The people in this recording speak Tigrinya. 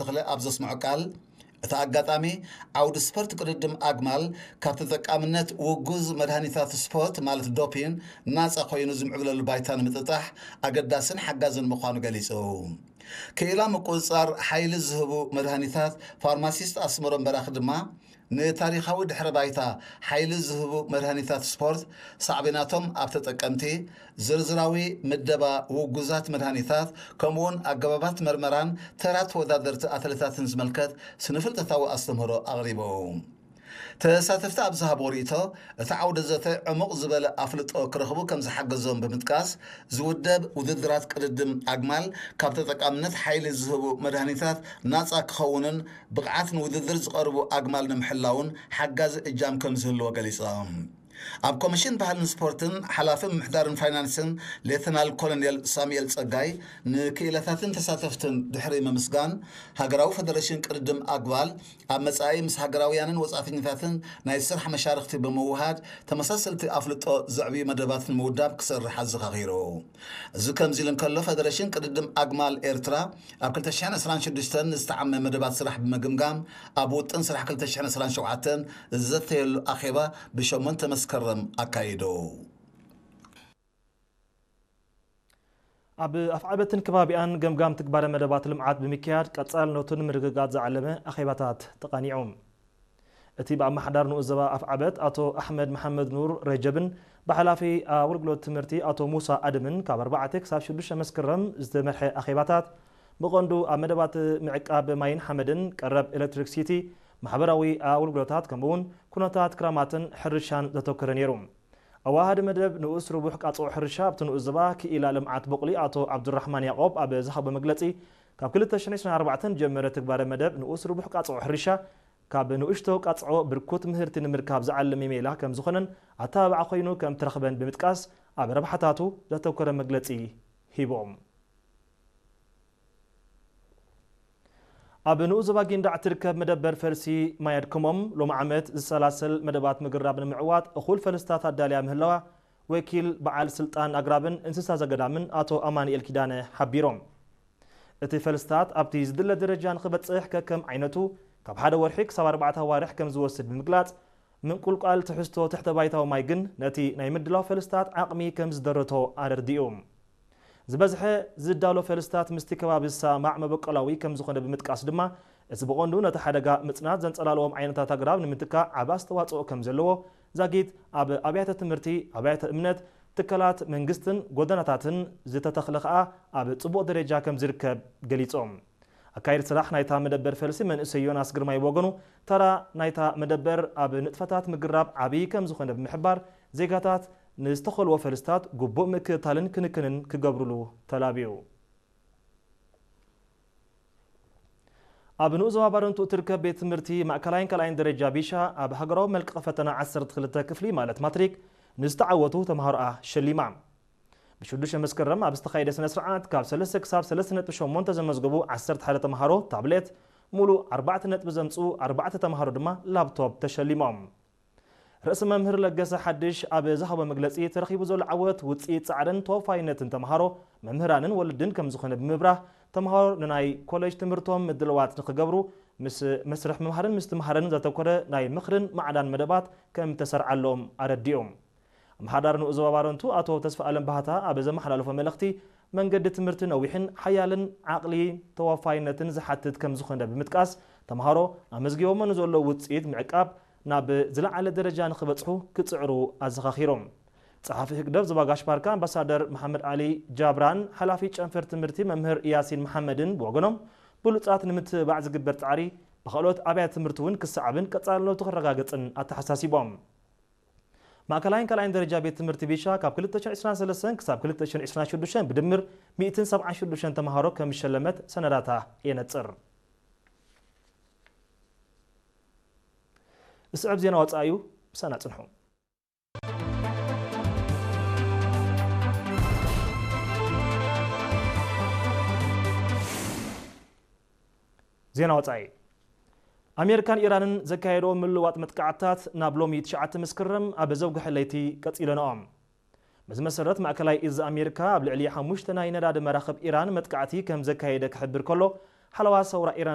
ተኽለ ኣብ ዘስምዖ ቃል፣ እቲ ኣጋጣሚ ዓውዲ ስፖርት ቅድድም ኣግማል ካብ ተጠቃምነት ውጉዝ መድሃኒታት ስፖርት ማለት ዶፒን ናፃ ኮይኑ ዝምዕብለሉ ባይታ ንምጥጣሕ ኣገዳስን ሓጋዝን ምዃኑ ገሊጹ። ክኢላ ምቁጽጻር ሓይሊ ዝህቡ መድሃኒታት ፋርማሲስት ኣስመሮም በራኺ ድማ፣ ንታሪኻዊ ድሕረ ባይታ ሓይሊ ዝህቡ መድሃኒታት ስፖርት፣ ሳዕቤናቶም ኣብ ተጠቀምቲ፣ ዝርዝራዊ ምደባ ውጉዛት መድሃኒታት፣ ከምኡውን ኣገባባት መርመራን ተራ ተወዳደርቲ ኣትሌታትን ዝምልከት ስነፍልጠታዊ ኣስተምህሮ ኣቕሪቡ። ተሳተፍቲ ኣብ ዝሃብዎ ርእይቶ፣ እቲ ዓውደ ዘተ ዕሙቕ ዝበለ ኣፍልጦ ክረኽቡ ከም ዝሓገዞም ብምጥቃስ፣ ዝውደብ ውድድራት ቅድድም ኣግማል ካብ ተጠቃምነት ሓይሊ ዝህቡ መድሃኒታት ናጻ ክኸውንን ብቕዓት ንውድድር ዝቐርቡ ኣግማል ንምሕላውን ሓጋዚ እጃም ከም ዝህልዎ ገሊጾም። ኣብ ኮሚሽን ባህልን ስፖርትን ሓላፊ ምምሕዳርን ፋይናንስን ሌተናል ኮሎኔል ሳሙኤል ጸጋይ ንክኢላታትን ተሳተፍትን ድሕሪ ምምስጋን፣ ሃገራዊ ፈደረሽን ቅድድም ኣግማል ኣብ መጻኢ ምስ ሃገራውያንን ወጻእተኛታትን ናይ ስራሕ መሻርኽቲ ብምውሃድ ተመሳሰልቲ ኣፍልጦ ዘዕብዩ መደባት ንምውዳብ ክሰርሕ ኣዘኻኺሩ። እዚ ከምዚ ኢሉ እንከሎ፣ ፈደረሽን ቅድድም ኣግማል ኤርትራ ኣብ ክልተ ሽሕን ዕስራን ሽዱሽተን ዝተዓመ መደባት ስራሕ ብምግምጋም፣ ኣብ ውጥን ስራሕ ክልተ ሽሕን ዕስራን ሸውዓተን ዝዘተየሉ ኣኼባ ብሸሞንተ መስከረም ኣካይዱ። ኣብ ኣፍዓበትን ከባቢኣን ገምጋም ትግባረ መደባት ልምዓት ብምክያድ ቀጻልነቱ ንምርግጋጽ ዝዓለመ ኣኼባታት ተቓኒዑ። እቲ ብኣመሓዳሪ ንኡስ ዞባ ኣፍዓበት ኣቶ ኣሕመድ መሓመድ ኑር ረጀብን ብሓላፊ ኣገልግሎት ትምህርቲ ኣቶ ሙሳ ኣደምን ካብ ኣርባዕተ ክሳብ ሽዱሽተ መስከረም ዝተመርሐ ኣኼባታት ብቐንዱ ኣብ መደባት ምዕቃብ ማይን ሓመድን፣ ቀረብ ኤሌክትሪክሲቲ፣ ማሕበራዊ ኣገልግሎታት ከምኡውን ኩነታት ክራማትን ሕርሻን ዘተኮረ ነይሩ። ኣዋሃዲ መደብ ንኡስ ርቡሕ ቃጽዖ ሕርሻ ኣብቲ ንኡስ ዞባ ክኢላ ልምዓት ቦቕሊ ኣቶ ዓብዱራሕማን ያዕቆብ ኣብ ዝሃቦ መግለጺ፣ ካብ ክልተ ሽሕን ዕስራን ኣርባዕተን ዝጀመረ ትግባረ መደብ ንኡስ ርቡሕ ቃጽዖ ሕርሻ ካብ ንኡሽቶ ቃጽዖ ብርኩት ምህርቲ ንምርካብ ዝዓለመ ሜላ ከም ዝኾነን ኣተባባዓ ኮይኑ ከም ተረኽበን ብምጥቃስ፣ ኣብ ረብሓታቱ ዘተኮረ መግለጺ ሂቦም። ኣብ ንኡስ ዞባ ጊንዳዕ እትርከብ መደበር ፈልሲ ማይ ኣድክሞም፣ ሎሚ ዓመት ዝሰላሰል መደባት ምግራብ ንምዕዋት እኹል ፈልስታት ኣዳልያ ምህላዋ ወኪል በዓል ስልጣን ኣግራብን እንስሳ ዘገዳምን ኣቶ ኣማኑኤል ኪዳነ ሓቢሮም። እቲ ፈልስታት ኣብቲ ዝድለ ደረጃ ንኽበጽሕ ከከም ዓይነቱ ካብ ሓደ ወርሒ ክሳብ ኣርባዕተ ኣዋርሕ ከም ዝወስድ ብምግላጽ፣ ምንቁልቋል ትሕዝቶ ትሕተ ባይታዊ ማይ ግን ነቲ ናይ ምድላው ፈልስታት ዓቕሚ ከም ዝደረቶ ኣረድኡ። ዝበዝሐ ዝዳሎ ፈልስታት ምስቲ ከባቢ ዝሰማማዕ መበቆላዊ ከም ዝኾነ ብምጥቃስ ድማ፣ እቲ ብቐንዱ ነቲ ሓደጋ ምጽናት ዘንጸላልዎም ዓይነታት ኣግራብ ንምትካእ ዓቢ ኣስተዋጽኦ ከም ዘለዎ ዛጊት ኣብ ኣብያተ ትምህርቲ፣ ኣብያተ እምነት፣ ትካላት መንግስትን ጎደናታትን ዝተተኽለ ከኣ ኣብ ጽቡቕ ደረጃ ከም ዝርከብ ገሊጾም። ኣካይዲ ስራሕ ናይታ መደበር ፈልሲ መንእሰይ ዮናስ ግርማይ ብወገኑ፣ ተራ ናይታ መደበር ኣብ ንጥፈታት ምግራብ ዓብዪ ከም ዝኾነ ብምሕባር፣ ዜጋታት ንዝተኸልዎ ፈልስታት ግቡእ ምክትታልን ክንክንን ክገብሩሉ ተላብዩ። ኣብ ንኡስ ዞባ ባረንቱ እትርከብ ቤት ትምህርቲ ማእከላይን ካልኣይን ደረጃ ቢሻ ኣብ ሃገራዊ መልቀቒ ፈተና ዓሰርተ ክልተ ክፍሊ ማለት ማትሪክ ንዝተዓወቱ ተምሃሮኣ ሸሊማ። ብሽዱሽተ መስከረም ኣብ ዝተኻየደ ስነ ስርዓት ካብ ሰለስተ ክሳብ ሰለስተ ነጥቢ ሸሞንተ ዘመዝገቡ ዓሰርተ ሓደ ተምሃሮ ታብሌት፣ ሙሉእ ኣርባዕተ ነጥቢ ዘምጽኡ ኣርባዕተ ተምሃሮ ድማ ላፕቶፕ ተሸሊሞም። ርእሲ መምህር ለገሰ ሓድሽ ኣብ ዝሃቦ መግለጺ፣ ተረኺቡ ዘሎ ዓወት ውጽኢት ጻዕርን ተወፋይነትን ተምሃሮ፣ መምህራንን ወለድን ከም ዝኾነ ብምብራህ፣ ተምሃሮ ንናይ ኮሌጅ ትምህርቶም ምድልዋት ንኽገብሩ ምስ መስርሕ ምምሃርን ምስትምሃርን ዘተኮረ ናይ ምኽርን ማዕዳን መደባት ከም ተሰርዓሎም ኣረዲኦም። ኣመሓዳሪ ንኡስ ዞባ ባረንቱ ኣቶ ተስፋኣለም ባህታ ኣብ ዘመሓላለፎ መልእኽቲ፣ መንገዲ ትምህርቲ ነዊሕን ሓያልን ዓቕሊ ተወፋይነትን ዝሓትት ከም ዝኾነ ብምጥቃስ፣ ተምሃሮ ኣመዝጊቦሞ ንዘለዉ ውጽኢት ምዕቃብ ናብ ዝለዓለ ደረጃ ንኽበጽሑ ክጽዕሩ ኣዘኻኺሮም። ጸሓፊ ህግደፍ ዞባ ጋሽ ባርካ ኣምባሳደር መሓመድ ዓሊ ጃብራን ሓላፊ ጨንፈር ትምህርቲ መምህር ያሲን መሓመድን ብወገኖም፣ ብሉጻት ንምትብባዕ ዝግበር ጻዕሪ ብኻልኦት ኣብያተ ትምህርቲ እውን ክሰዓብን ቀጻልነቱ ክረጋገጽን ኣተሓሳሲቦም። ማእከላይን ካልኣይን ደረጃ ቤት ትምህርቲ ቢሻ ካብ ክልተ ሽሕን ዕስራን ሰለስተን ክሳብ ክልተ ሽሕን ዕስራን ሽዱሽተን ብድምር ሚእትን ሰብዓን ሽዱሽተን ተምሃሮ ከም ዝሸለመት ሰነዳታ የነጽር። ዝስዕብ ዜና ወጻኢ እዩ፣ ምሳና ጽንሑ። ዜና ወጻኢ። ኣሜሪካን ኢራንን ዘካየዶ ምልዋጥ መጥቃዕትታት ናብ ሎሚ ትሽዓተ መስከረም ኣብ ዘውግሐ ለይቲ ቀጺለንኦም። በዚ መሰረት፣ ማእከላይ እዝ ኣሜሪካ ኣብ ልዕሊ ሓሙሽተ ናይ ነዳዲ መራኽብ ኢራን መጥቃዕቲ ከም ዘካየደ ክሕብር ከሎ፣ ሓለዋ ሰውራ ኢራን